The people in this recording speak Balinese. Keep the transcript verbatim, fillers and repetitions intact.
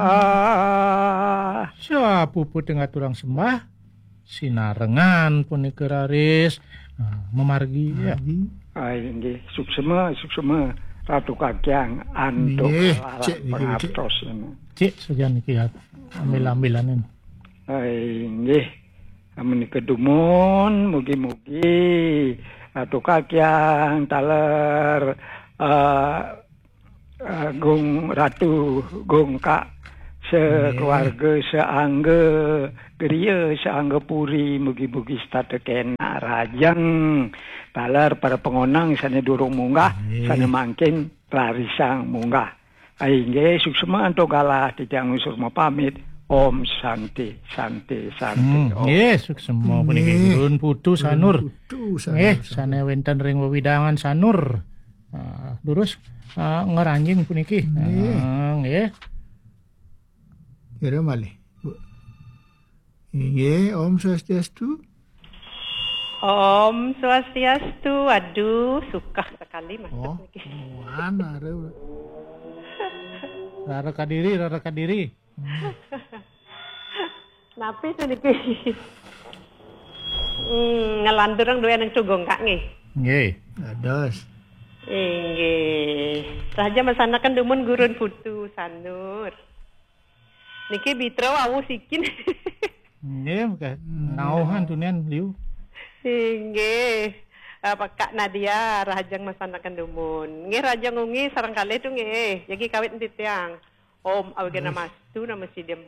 Ah, sapuputing aturang sembah, sinarengan punika raris, ah, mamargi, ya. Margi. Ah, inggih, suksema, suksema, Ratu Kakyang, antuk Inggih, kalalah cik niki, cik. Pangartos ini. Cik saja niki, ya. Ambil-ambilan ini. Ah, inggih, menika dumun, mugi-mugi Ratu Kakyang, taler, eh, Agung Ratu, Gung Kak, sekeluarga, seangga griya, seangga puri, mugi-mugi setata kenak rajeng. Taler para pangonang sane durung munggah, Nggih. Sane mangkin rarisang munggah. Inggih, suksema antuk galah titiang nglungsur mapamit. Om Santi, Santi, Santi. Hmm, Om. Nggih, suksema puniki Nggih. Gurun Putu Sanur. Gurun Putu Sanur, Nggih, Sanur. Sane wenten ring wewidangan Sanur. Ah, durus, ah, ngranjing puniki. Nggih. Ah, nggih. Kira malih, Bu. Inggih, Om Swastiastu. Om Swastiastu. Aduh, sukah sekali masuk Oh, niki. Wan, are. Rara kadiri, rara kadiri. Hmm. Napi to niki? Hmm, nglanturang duwe aning tugung, Kak, nggih. Nggih. Dados. Inggih. Saja masanaken dumun Gurun Putu Sanur. Niki Bitra wau sikin. Nggih, maka Hmm. nauhan tunian liu. Inggih. Eh, Pak Kak Nadia, rahajeng masanaken dumun. Nggih, rahajeng wengi sareng kalih tu nggih. Jagi kawit titiang. Om Awighnamastu Namo Sidham.